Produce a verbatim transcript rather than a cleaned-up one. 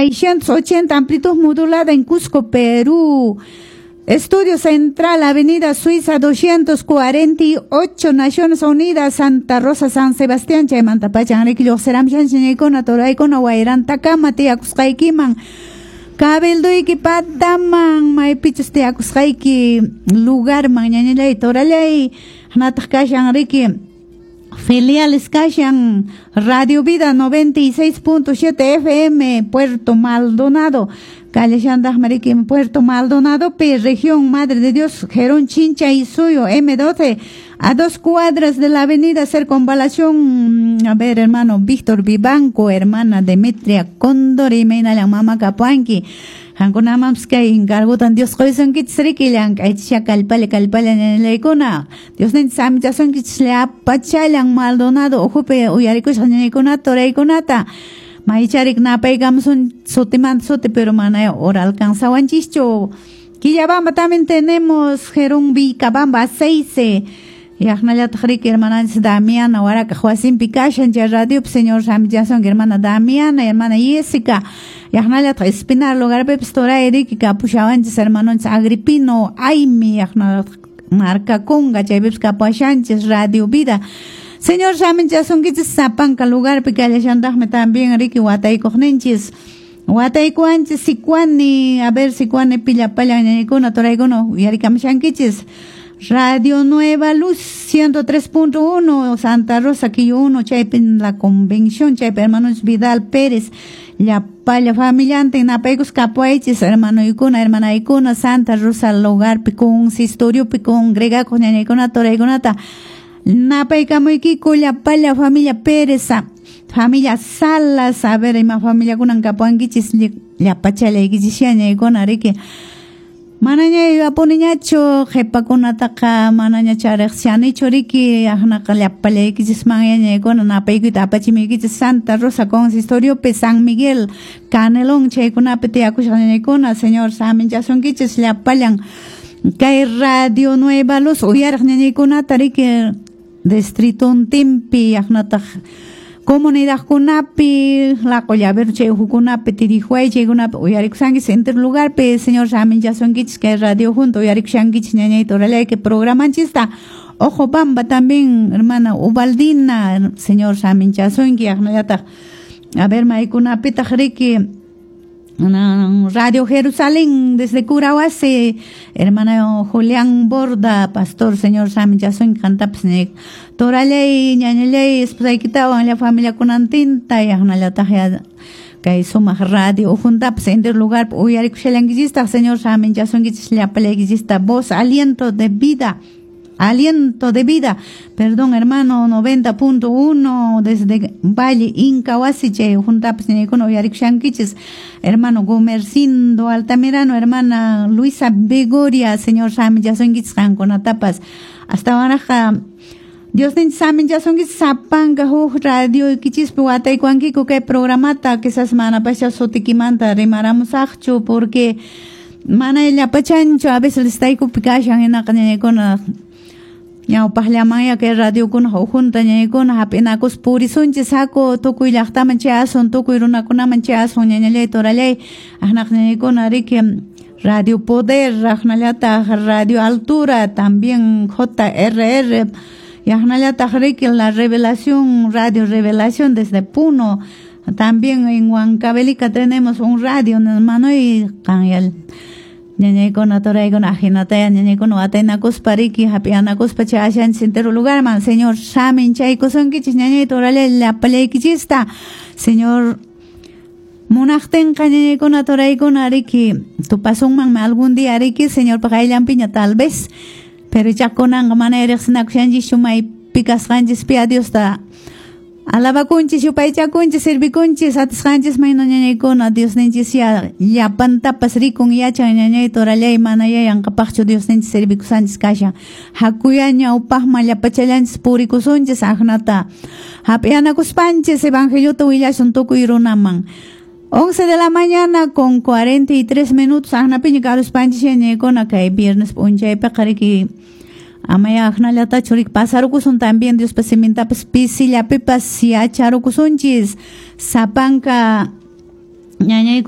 seiscientos ochenta amplitud modulada en Cusco, Perú. Estudio Central, Avenida Suiza doscientos cuarenta y ocho, Naciones Unidas, Santa Rosa, San Sebastián, chaymanta pachan riki lluqsiramshan ñañaykuna turaykuna wayrantakama tiyakusqaykiman cabilduyki pataman maypichus tiyakusqayki lugarman ñañallay torallay hanataq kashan riki filiales kashan Radio Vida noventa y seis punto siete F M Puerto Maldonado Callashandaq riki Puerto Maldonado P región Madre de Dios Gerón Chincha y Suyo M doce a dos cuadras de la avenida Circunvalación. A ver, hermano Víctor Vivanco, hermana Demetria Condori, Meinala Mama Capuanqui Hankunamampas kay encargutan Dios qoysunkichis riki llank'aychisha kallpalla kallpalla ñañaykuna Dios ninchis amichasunkichis llapachallan Maldonado uhupi uyarikusqa ñañaykunata turaykunata maycharik napaykamusun sutimanta suti pero mana hora alcanzawanchischu. Quillabamba también tenemos Gerón Vilcabamba seis. Yaqnallataq riki hermananchis Damiana Huaraca wasinpi kashan chay radiopi señor Samichasunki hermana Damiana, hermana Jessica. Yaqnallataq Espinar lugarpipis turay riki kapushawanchis hermanonchis Agripino Aimi yaqnallataq Marcaconga chaypipis kapushanchis Radio Vida. Señor Samichasunkichis sapanka lugarpi kallashantaqmi también riki wataykuqninchis. Wataykuanchis Sicuani, a ver Sicuani pillapalla ñañaykuna turaykuna uyarikamushankichis. Radio Nueva Luz ciento tres punto uno, Santa Rosa, Quillo uno, chaypi en la convención, chaypi hermanos Vidal Pérez, llapalla familiante, napaykus kapuaychis, hermano ikuna, hermana ikuna, Santa Rosa lugarpi, consistoriopi, congregacos, ñañaykuna, toraykunata, napaykamuykiku, llapalla familia Pérez, familia Salas, a ver, ima familia kunan kapuankichis, llapachallaykichis, ñañaykuna, riki. Manaña yuyapuniñachu qhipakunataqa manaña chariqsianichu riki aqnaqa llapallaykichis manyañaykuna napaykuyta apachimuykichis Santa Rosa consistoriopi San Miguel Canelón chaykunapi tiyakushaq ñañaykuna señor saminchasunkichis llapallan kay Radio Nueva Luz uyariq ñañaykunata riki distritontinpi aqnataq comunidadkunapi laqollaver chay uhukunapi tirihuay chaykunapi uyarikushankichis enter lugarpi señor saminchasunkichis kay radio junto uyarikushankichis ñañayta orallayki programanchista Ojo Bamba también hermana Ubaldina señor saminchasunki aqnallataq a ver maykunapitaq riki Radio Jerusalén desde Curahuasi, hermano Julián Borda, pastor señor saminchasunki qantapas torallay ñañallay esposaykitawan la familia kunantinta yaqnallataq ya kay sumaq radio ujuntapas enter lugar uyarikushallankichistaq señor saminchasunkichis llapallaykichista voz aliento de vida aliento de vida, perdón hermano, noventa punto uno desde Valle Incahuasi, chay juntapas ñañaykuna uyarikushankichis, hermano Gumercindo Altamirano, hermana Luisa Begoria, señor saminchasunkichis qankunatapas hasta waraqa Dios ninchis saminchasunkichis sapanka huk radio ikichispi wataykuankiku kay programata quizás manapascha sutikimanta rimaramusaqchu porque mana llapachanchu a veces listaykupi kashan hinaqa ñañaykuna ñawpaqllamanya kay radiokuna ukhunta ñañaykuna hap'inakus purisunchis haku tukuy llaqtaman chayasun tukuy runakunaman chayasun ñañallay torallay aqnaq ñañaykuna riki Radio Poder aqnallataq Radio Altura también J R R yaqnallataq riki La Revelación Radio Revelación desde Puno también en Huancavelica tenemos un radio hermano y qanyal ñañaykuna turaykuna ajinataya ñañaykuna wataynakuspa riki hap'iyanakuspa chayashanchis entero lugarman señor saminchaykusunkichis ñañay torallay llapallaykichista señor munaqtinqa ñañaykuna turaykuna riki tupasunmanmi algún día riki señor paqayllanpiña tal vez pero chakunanqa mana riqsinakushanchischu maypi kasqanchispi a Diosta alabakunchis yupaychakunchis sirvikunchis atisqanchis mayna ñañaykuna Diosninchis ya llapantapas rikun yachan ñañay torallay mana yanqapaqchu Diosninchis sirvikusanchis kashan hakuya ñawpaqman llapachallanchis purikusunchis aqnata hap'iyanakuspanchis evangeliota willasun tukuy runaman. once de la mañana con cuarenta y tres minutos aqnapiña karuspanchis ñañaykuna kay viernes p'unchaypiqa riki amaya aqnallatachu riki pasarukusun también Diospa simintapas pisillapipas yacharukusunchis sapanka ñañaykuna